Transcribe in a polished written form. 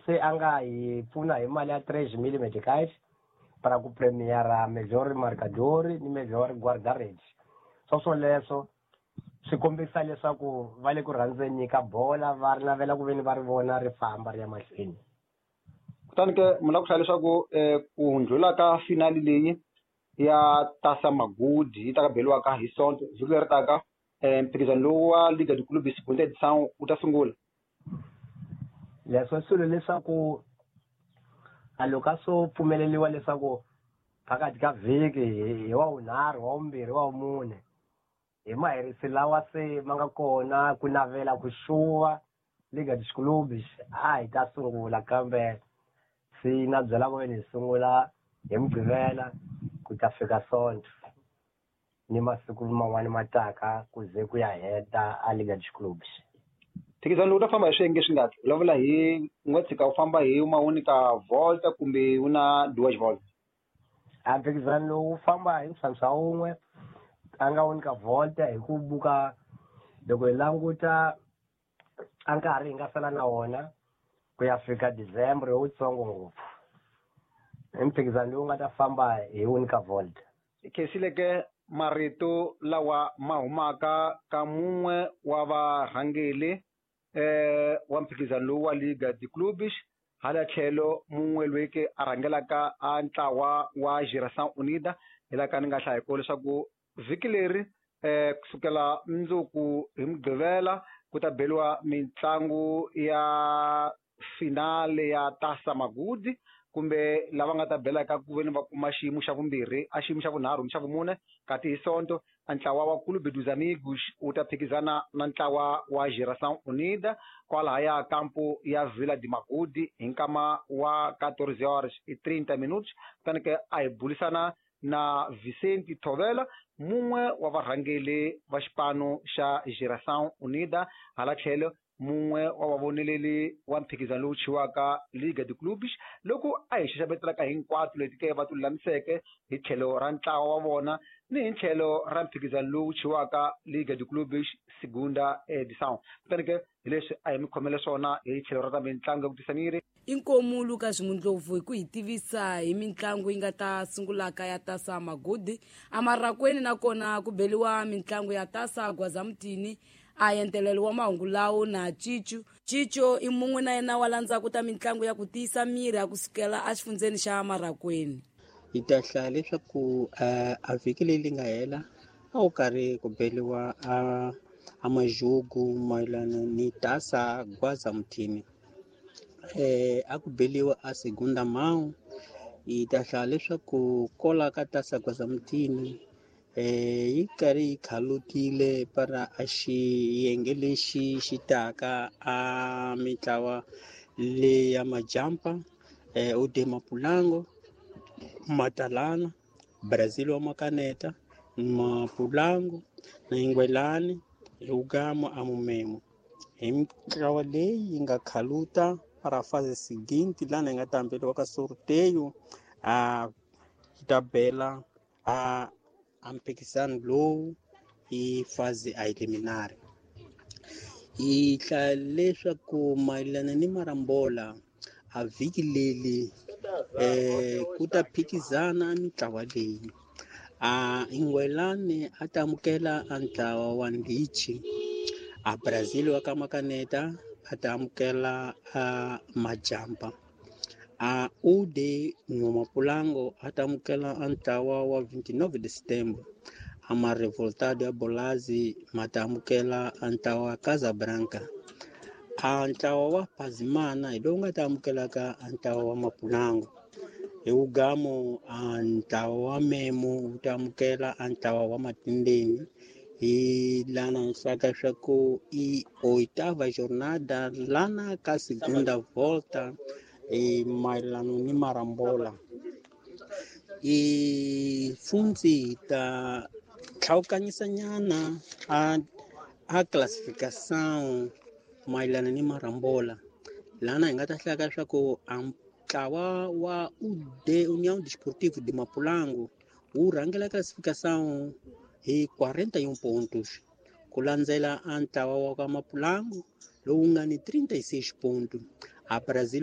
Se a nga hi pfuna hi mali ya 3 mil meticais para ku premiara melhor marcador ni melhor guarda-redes. Swoswoleswo swi kombisa leswaku va le ku rhandzeni ka bola, va ri navela ku veni va ri vona ri famba ri ya mahlweni. Kutani ke mi lava ku hlaya leswaku ku ndlhula ka finali leyi ya Taça Magudi yi ta ka beriwaka hi Sonto vhiki leri taka, mphikizano lowu wa Liga de Clubes Segunda Edição wu ta sungula. Leswo swilo leswaku a loko a swo pfumeleliwa leswaku phakathi ka vhiki hi wa vunharhu, wa vumbirhi, wa vumune, hi maherisi lawa se ma nga kona ku navela ku xuva Liga dos Clubes, a hi ta sungula. Kambe se na byela ku veni hi sungula hi Mugqivela ku ta fika Sonto ni masiku man'wani ma taka ku ze ku ya heta a Liga dos Clubes. Mphikizano lowu ta famba hi swiyenge swi ngaki? Vulavula hi u nga tshika u famba hi uma única volta kumbe u na duas voltas? A mphikizano lowu wu famba hi ntlhantlha wun'we, a nga única volta, hi ku buka loko hi languta a nkarhi hi nga sala na wona ku ya fika December wutsongo ngopfu. I mphikizano lowu nga ta famba hi única volta. Hi khensile ke marito lawa ma humaka ka mun'we wa varhangeli wa mphikizano lowu wa Liga de Clubes, hala tlhelo mun'we loyi ke a rhangelaka a ntlawa wa Geração Unida, hi laha ka ni nga hlaya hi kona leswaku vhiki leri kusukela mundzuku hi Mugqivela ku ta beriwa mitlangu ya finale ya Taça Magudi, kumbe lava nga ta belaka ku veni va kuma xiyimo xa vumbirhi, a xiyimo xa vunharhu ni xa vumune. Kasi hi Sonto a ntlawa wa Clube dos Amigos wu ta phikizana na ntlawa wa Geração Unida kwalahaya kampo ya Vila de Magudi hi nkama wa 14 horas e 30 minutos. Kutani ke a hi bulisana na Vicente Thovela, mun'we wa varhangeli va xipano xa Geração Unida, hala tlhelo mun'we wa vavoneleli wa mphikizano lowu chiwaka Liga de Clubes, loko a hi xaxametelaka hinkwato leti ke va ti lulamiseke hi tlhelo ra ntlawa wa vona ni hi tlhelo ra mphikizano lowu chiwaka Liga de Clubes Segunda Edição. Kutani ke hi leswi a hi mi khomele swona hi tlhelo ra ta mitlangu ya ku tisa miri. Inkomu Lucas Mundlovu hi ku hi tivisa hi mitlangu yi nga ta sungulaka ya Taça Magudi amarakweni, nakona ku beliwa mitlangu ya Taça Gwazamutini. A entelelo wa mahungu lawo na Cicu Cico i mun'we na yena wa landzaku ta mitlangu ya ku tiyisa miri a kusukela exifundzeni xa Marakweni. Hi ta hlaya leswaku a vhiki leyi nga hela a wu karhi ku beliwa a majugu mayelana ni Taça Gwaza Muthini, a ku beliwa a segunda mão. Hi ta hlaya leswaku kola ka Taça Gwaza Muthini yi karhi yi khalutile para a xiyenge lexi xi taka a mitlawa leya majampa, UD Mapulango, Matalana, Brazil wa Makaneta, Mapulango na Ingwelani Lugamo Amumemo, hi mitlawa leyi yi nga khaluta para fase seguinte lana yi nga ta hambeliwa ka sorteio a yi ta bela a mphikizano lowu i fase a eliminar. Hi hlaya leswaku mayelana ni marambola a vhiki leri ku ta phikizana mitlawa leyi: a Ingwelani a ta amukela a ntlawa wa Ndichi, a Brazil wa ka Makaneta a ta amukela a Majampa, a UD Nhomapulango a ta amukela a ntlawa wa 29 de Setembro, a ma Revoltado ya Bolazi ma ta amukela a ntlawa wa Casablanca, a ntlawa wa Pazimana hi lowu nga ta amukelaka a ntlawa wa Mapulango, hi wugamo a ntlawa wa Memo wu ta amukela a ntlawa wa Matindeni. Hi lana nhlaka swa ku i oitava jornada lana ka segunda volta e mayelana ni marambola. I fundzi ta tlhawukanyisa nyana a classificação mayelana ni marambola, lana hi nga ta hlaya leswaku a ntlawa wa UD União Desportivo de Mapulango wu rhangela classificação hi 41 pontos, ku landzela a ntlawa wa ka Mapulango lowu nga ni 36 pontos, a Brazil.